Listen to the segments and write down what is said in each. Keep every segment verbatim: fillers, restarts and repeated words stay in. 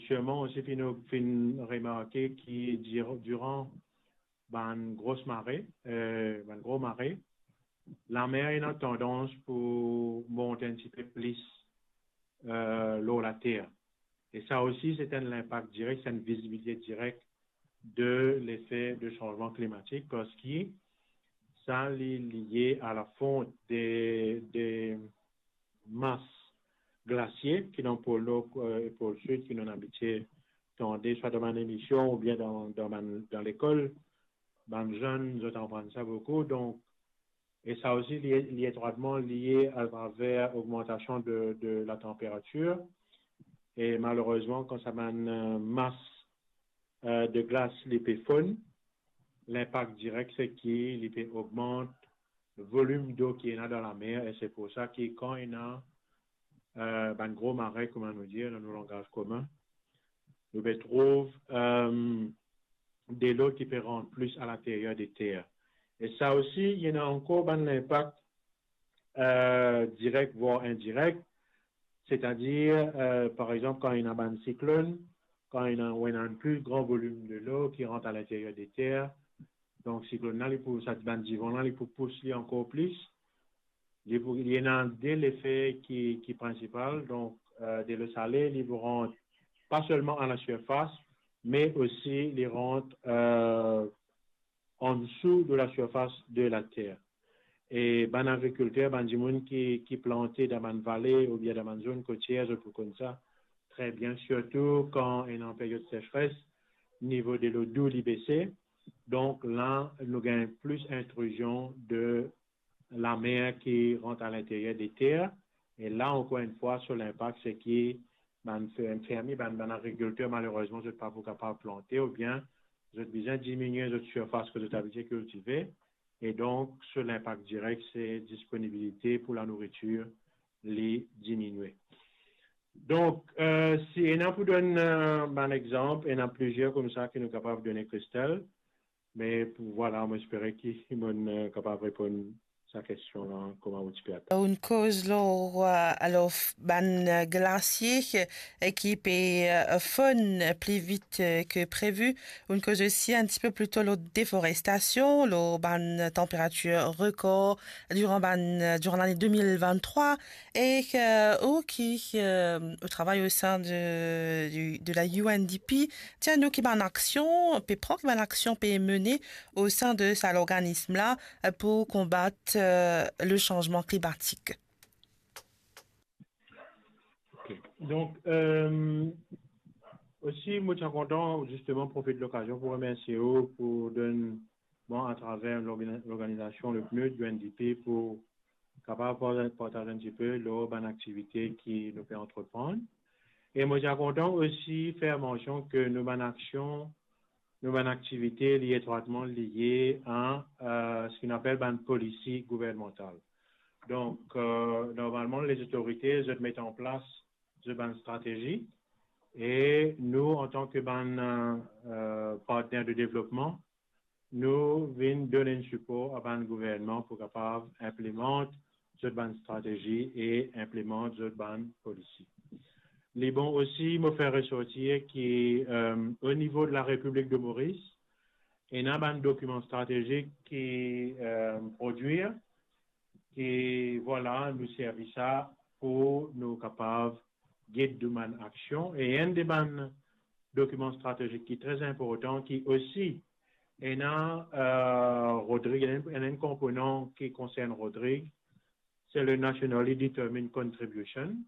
Sirman osi finn, finn remarke ki dir-, diran bann gros mare, eh, bann gro mare, lamer ena tandans pou mont enn tipe plis, eh, lor later. E sa osi, se enn linpak direk, se enn vizibilite direk de lefe de sanzman klimatik, parski sa li lie a la font de, de mas glasie ki dan pol nor, eh, e pol sid, ki nou abitie tande, swa dan bann emision oubien dan, dan bann, dan lekol, bann zenn, zot aprann sa boukou. Donk, e sa osi li, li etrwatman lie atraver ogmantasion de, de latanperatir. E malerezman, kan sa bann, eh, mas, eh, de glas li pe fonn, linpak direk se ki li pe ogmant volim dlo ki ena dan lamer, e se pou sa ki kan ena, eh, bann gro mare, kouma nou dir dan nou langaz komin, nou pe trouv, eh, delo ki pe rant plis alinteryer de ter. E sa osi, ena ankor bann linpak, eh, direk vwar indirek, setadir, eh, par exanp, kan ena bann siklonn, kan ena, ou ena enn pli gran volim delo ki rant alinteryer de ter, donk siklonn la, li pou, sa bann divan la, li pou pous li ankor plis. Li pou, li ena de lefe ki, ki prinsipal, donk, eh, delo sale, li pou rant pa selman a la sirfas, me osi li rant, eh, an dsou de la sirfas de later. E bann agrikilter, bann dimoun ki, ki plante dan bann vale oubien dan bann zonn kotier, zot pou konn sa tre bien, sirtou kan ena period sesres, nivo delo dou li bese. Donk la, nou gagn plis intrizion de lamer ki rant alinteryer de ter. E la, ankor enn fwa, so linpak, se ki bann fer-, fermie, bann, bann agrikilter, malerezman, zot pa pou kapav plante oubien zot bizin diminie zot sirfas ki zot abitie kiltive. E donk, so linpak direk, se disponibilite pou lanouritir li diminie. Donk, eh, si ena pou donn, eh, bann exanp, ena plizier koumsa ki nou kapav done, Christelle. Me pou, vwala, mo espere ki mo'nn, eh, kapav reponn sa kestion la, kouma ou ti pe atann. Ou'nn koz lor, eh, alor, f-, bann, eh, glasie, eh, ki pe, eh, fonn pli vit, eh, ke previ. Ou'nn koz osi enn tipe plito lor deforestasion, lor bann tanperatir rekor diran bann, diran lane de mil venntrwa, e, eh, ou ki, eh, ou travay o sein de, du, de la U N D P, dir nou ki bann aksion pe pran, ki bann aksion pe mene o sein de sa lorganism la, eh, pou konbat, eh, le sanzman klimatik. Ok. Donk, eh, osi, mo ti kontan zisteman profit lokazion pou remersie ou, pou donn mwa, atraver lorgani-, lorganizasion le PNUD, U N D P, pou kapav parta-, partaz enn tipe lor bann aktivite ki nou pe antreprann. E mo ti kontan osi fer mansion ke nou bann aksion, nou bann aktivite, li etrwatman lie a, eh, seki nou apel bann polisi gouvernmantal. Donk, eh, normalman, lezotorite, zot met an plas zot bann stratezi, e nou, antan ki bann, eh, partner de devlopman, nou vinn donn enn sipor a bann gouvernman pou kapav inplimant zot bann stratezi e inplimant zot bann polisi. Li bon osi, mo fer resortir ki, eh, o nivo de la Repiblik de Moris, ena bann dokiman stratezik ki, eh, prodwir, ki, vwala, nou servi sa pou nou kapav gid nou bann aksion. E enn de bann dokiman stratezik ki tre inportan, ki osi ena, eh, Rodrig, ena, ena enn konponan ki konsern Rodrig, se le Nationally Determined Contribution.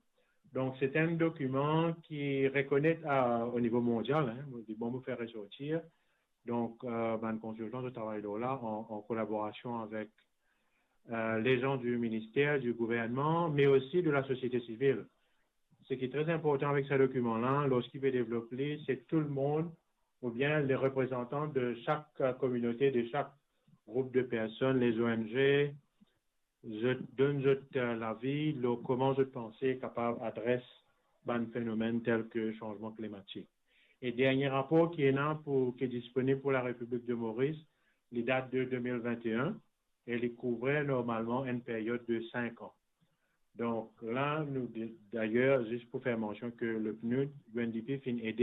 Donk, se enn dokiman ki rekonet a, o nivo mondial, hein, mo dir, bon, mo fer resortir. Donk, eh, bann konsiltan, zot travay lor la an, an kolaborasion avek, eh, lezan di minister, di gouvernman, me osi de lasosiete sivil. Seki tre inportan avek sa dokiman la, lorski pe devlop li, se tou lemonn, oubien le reprezantan de sak, eh, kominote, de sak group de personn, les O N G, zot donn zot, eh, lavi lor kouma zot panse kapav adres bann fenomenn tel ki sanzman klimatik. E dernie rapor ki ena pou, ki disponib pou la Repiblik de Moris, li dat de de mil vennteen e li kouvrir normalman enn period de sink an. Donk la, nou, de-, dayer, zis pou fer mansion ki le PNUD, U N D P finn ede